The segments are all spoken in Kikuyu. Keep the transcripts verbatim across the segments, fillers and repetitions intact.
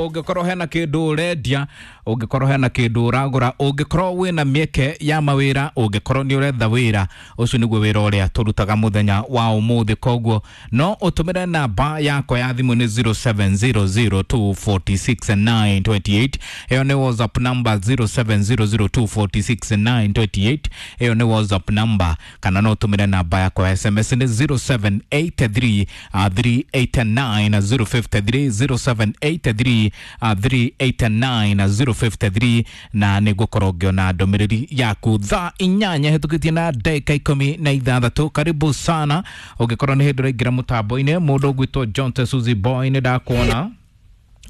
Ũngĩkorwo hena kĩndũ ũrendia, ũngĩkorwo hena kĩndũ ũragũra, ũngĩkorwo wĩna mĩeke ya mawĩra, ũngĩkorwo nĩ ũretha wĩra, ũcio nĩguo wĩra ũrĩa tũrutaga mũthenya wa ũmũthĩ. Koguo no ũtũmĩre namba yakwa ya thimũ nĩ zero seven zero zero two forty six nine twenty eight. Ĩyo nĩ WhatsApp number zero seven zero zero two forty six nine twenty eight. Ĩyo nĩ WhatsApp number, kana no ũtũmĩre namba yakwa ya S M S nĩ zero seven eight three, uh, three eight nine zero fifty three, zero seven eight three, uh, three eight nine zero fifty three, na nĩngũkorwo ngĩona ndũmĩrĩri yaku thaa inyanya hĩtũkĩtie na ndagĩka ikũmi na ithathatũ. Karibu sana ũngĩkorwo nĩ hĩndĩ ũraingĩra mũtambo-inĩ. Mũndũ ũgwĩtwo John Suzy Boy nĩ ndakuona,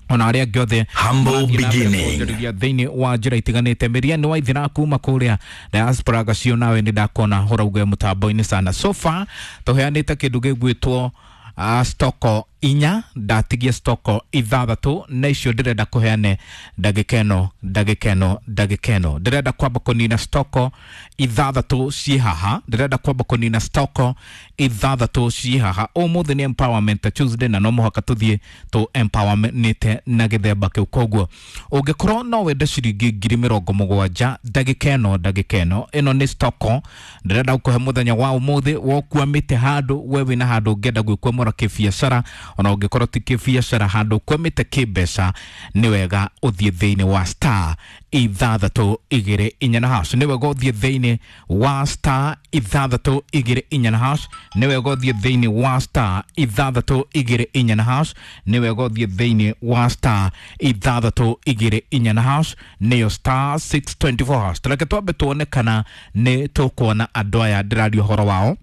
ona arĩa angĩ othe Humble marathiĩ na mbere beginning. kũnjũrĩria thĩinĩ wa njĩra itiganĩte. Mĩria nĩ waithira kuma kũrĩa diaspora gacio, nawe nĩ ndakuona ũrauge mũtambo-inĩ sana. So far tũheanĩte kĩndũ gĩgwĩtwo, uh, stoko inya, ndatigie stoko ithathatũ, na icio ndĩrenda kũheane ndagĩka ĩno, ndagĩka ĩno, ndagĩka ĩno. Ndĩrenda kwamba kũnina stoko ithathatũ ciĩ haha, ndĩrenda kwamba kũnina stoko ithathatũ ciĩ haha. Ũmũthĩ nĩ Empowerment Tuesday na no mũhaka tũthiĩ tũ empowermentĩte na gĩthemba kĩu. Koguo ũngĩkorwo no wende ciringi ngiri mĩrongo mũgwanja ndagĩka ĩno, ndagĩka ĩno, ĩno nĩ stoko ndĩrenda gũkũhe mũthenya wa ũmũthĩ. Wokwamĩte handũ, we wĩna handũ ũngĩenda gwĩkwamũra kĩbiacara, ona ũngĩkorwo ti kĩbiacara, handũ ũkwamĩte kĩmbeca, nĩ wega ũthiĩ thĩinĩ wa star ithathatũ igĩrĩ inya na hash. Nĩ wega ũthiĩ thĩinĩ wa star ithathatũ igĩrĩ inya na hash. Nĩ wega ũthiĩ thĩinĩ wa star ithathatũ igĩrĩ inya na hash. Nĩ wega ũthiĩ thĩinĩ wa star ithathatũ igĩrĩ inya na hash, nĩyo star six twenty four hash. Reke twambe tuone kana nĩ tũkuona andũ aya ndĩraria ũhoro wao,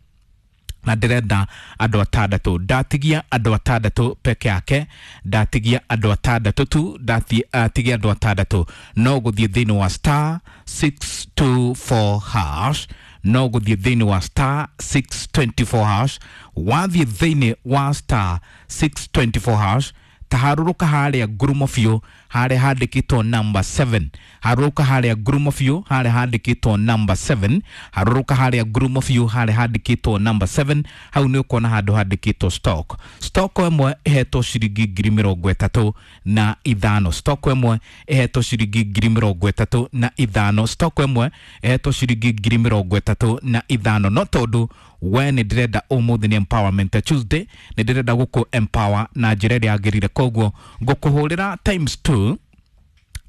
na ndĩrenda andũ atandatũ. Ndatigia andũ atandatũ peke yake, ndatigia andũ atandatũ tu, ndatigia andũ atandatũ. No gũthiĩ thĩinĩ wa star six two four hash, no gũthiĩ thĩinĩ wa star six twenty four hash. Wathiĩ thĩinĩ wa star six twenty four hash, taharũrũka harĩa ngurumo biũ, harĩa handĩkĩtwo number seven. Harũrũka harĩa ngurumo biũ, harĩa handĩkĩtwo number seven. Harũrũka harĩa ngurumo biũ, harĩa handĩkĩtwo number seven. Hau nĩ ũkuona handũ handĩkĩtwo stock. Stock ĩmwe ĩhetwo ciringi ngiri mĩrongo ĩtatũ na ithano. Stock ĩmwe ĩhetwo ciringi ngiri mĩrongo ĩtatũ na ithano. Stock ĩmwe ĩhetwo ciringi ngiri mĩrongo ĩtatũ na ithano. No tondũ we nĩ ndĩrenda ũmũthĩ nĩ Empowerment Tuesday, nĩ ndĩrenda gũkũ empower na njĩra ĩrĩa yagĩrĩire. Koguo ngũkũhũrĩra times two,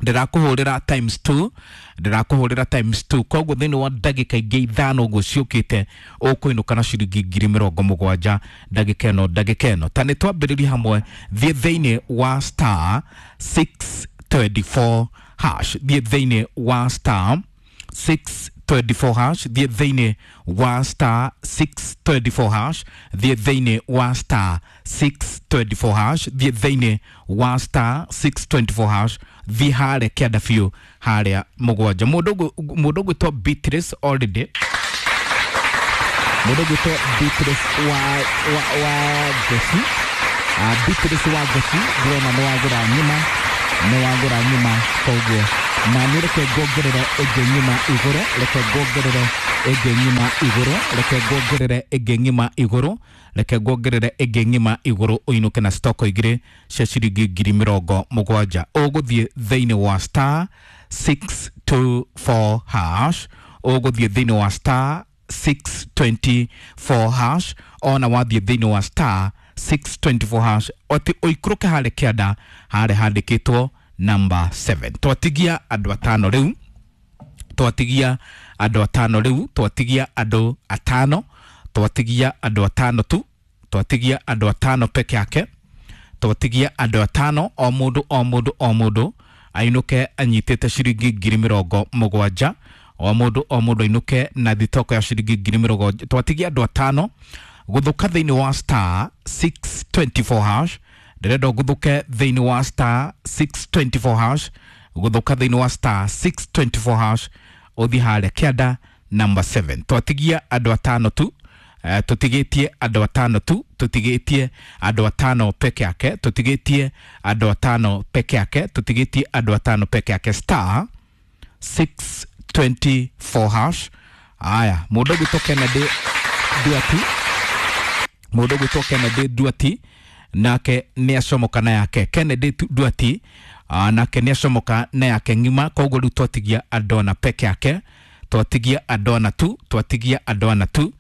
ndĩrakũhũrĩra times two, ndĩrakũhũrĩra times two. Koguo thĩinĩ wa ndagĩka ingĩ ithano ũguo ciũkĩte, ũkũinũka na ciringi ngiri mĩrongo mũgwanja ndagĩka ĩno, ndagĩka ĩno. Ta nĩ twambĩrĩrie hamwe, thiĩ thĩinĩ wa star six twenty four hash, thiĩ thĩinĩ wa star six twenty four hash, thiĩ thĩinĩ wa star six twenty four hash, thiĩ thĩinĩ wa star six twenty four hash, thiĩ thĩinĩ wa star six twenty four hash, thiĩ harĩa kĩanda biũ harĩa mũgwanja. Mũndũ ũgũ-, mũndũ ũgwĩtwo Beatrice already, mũndũ ũgwĩtwo Beatrice wa, wa, wa Ngoci, ah, Beatrice wa Ngoci, ndĩrona nĩ wagũra nyuma, nĩ wagũra nyuma. Koguo na nĩ reke ngongerere ĩngĩ nyuma igũrũ, reke ngongerere ĩngĩ nyuma igũrũ, reke ngongerere ĩngĩ nyuma igũrũ, reke ngongerere ĩngĩ nyuma igũrũ, ũinũke na stoko igĩrĩ cia ciringi ngiri mĩrongo mũgwanja. Ũgũthiĩ thĩinĩ wa star six two four hash, ũgũthiĩ thĩinĩ wa star six twenty four hash, ona wathiĩ thĩinĩ wa star six twenty four hash, ati ũikũrũke harĩa kĩanda harĩa handĩkĩtwo number seven. Twatigia andũ atano rĩu, twatigia andũ atano rĩu, twatigia andũ atano, twatigia andũ atano tu, twatigia andũ atano peke yake, twatigia andũ atano, o mũndũ, o mũndũ, o mũndũ ainũke anyitĩte ciringi ngiri mĩrongo mũgwanja, o mũndũ, o mũndũ ainũke na thitoko ya ciringi ngiri mĩrongo. Twatigia andũ atano gũthũka thĩinĩ wa star six twenty four hash. Ndĩrenda ũgũthũke thĩinĩ wa star six twenty four hash, gũthũka thĩinĩ wa star six twenty four hash, ũthiĩ harĩa kĩanda number seven. Twatigia andũ atano tu, eh, tũtigĩtie andũ atano tu, tũtigĩtie andũ atano peke yake, tũtigĩtie andũ atano peke yake, tũtigĩtie andũ atano peke yake, star six twenty four hash. Aya, mũndũ ũgwĩtwo Kennedy Duati, mũndũ ũgwĩtwo Kennedy Duati Nake nĩ acomoka na yake. Kennedy Duati uh, nake nĩ acomoka na yake ng'ima. Koguo rĩu twatigia andũ peke yake, twatigia andũ tu, twatigia andũ tu,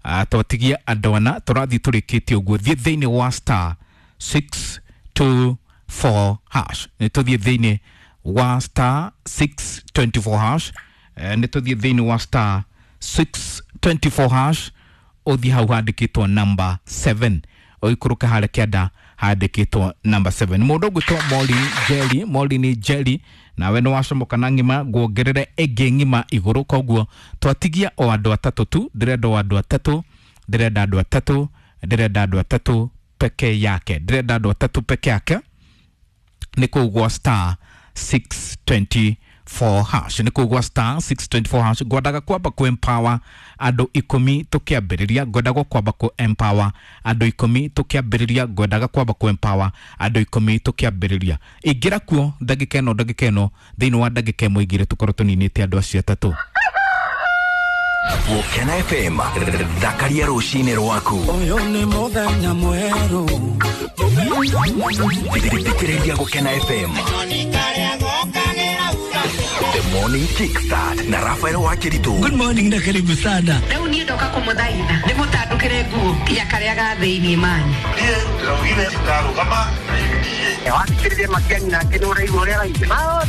uh, twatigia andũ ana. Tũrathiĩ tũrĩkĩtie ũguo. Thiĩ thĩinĩ wa star six two four hash. Nĩ tũthiĩ thĩinĩ wa star six twenty four hash. Eh, nĩ tũthiĩ thĩinĩ wa star six twenty four hash, ũthiĩ hau handĩkĩtwo number seven, ũikũrũke harĩa kĩanda handĩkĩtwo number seven. Mũndũ ũgwĩtwo Moli Jerry, Moli ni Jerry, nawe nĩ wacomoka na ng'ima, nguongerere ĩngĩ ng'ima igũrũ. Koguo twatigia o andũ atatũ tu. Ndĩrenda o andũ atatũ, ndĩrenda andũ atatũ, ndĩrenda andũ atatũ peke yake, ndĩrenda andũ atatũ peke yake. Nĩ kũu gwa star six twenty four hash, nĩ kũu gwa star six twenty four hash. Ngwendaga kwamba ku empower andũ ikũmi tũkĩambĩrĩria, ngwendaga kwamba ku empower andũ ikũmi tũkĩambĩrĩria, ngwendaga kwamba ku empower andũ ikũmi tũkĩambĩrĩria. Ingĩra kuo ndagĩka ĩno, ndagĩka ĩno, thĩinĩ wa ndagĩka ĩmwe igĩrĩ tũkorwo tũninĩte andũ acio atatũ. Gũkena F M, thakaria rũcinĩ rwaku. Ũyũ nĩ mũthenya mwerũ. Thikĩrĩria Gũkena F M The Morning Kickstart na Rafael Wakiritu. Good morning na karibu sana. Rĩu niĩ ndoka kũmũthaitha ndĩmũtandũkĩre nguo ya karĩa ga thĩinĩ manyu. Niĩ ndĩraugire ndarũgama na U D A. Wathikĩrĩria Matiang'i nake nĩ ũraigua ũrĩa araigua.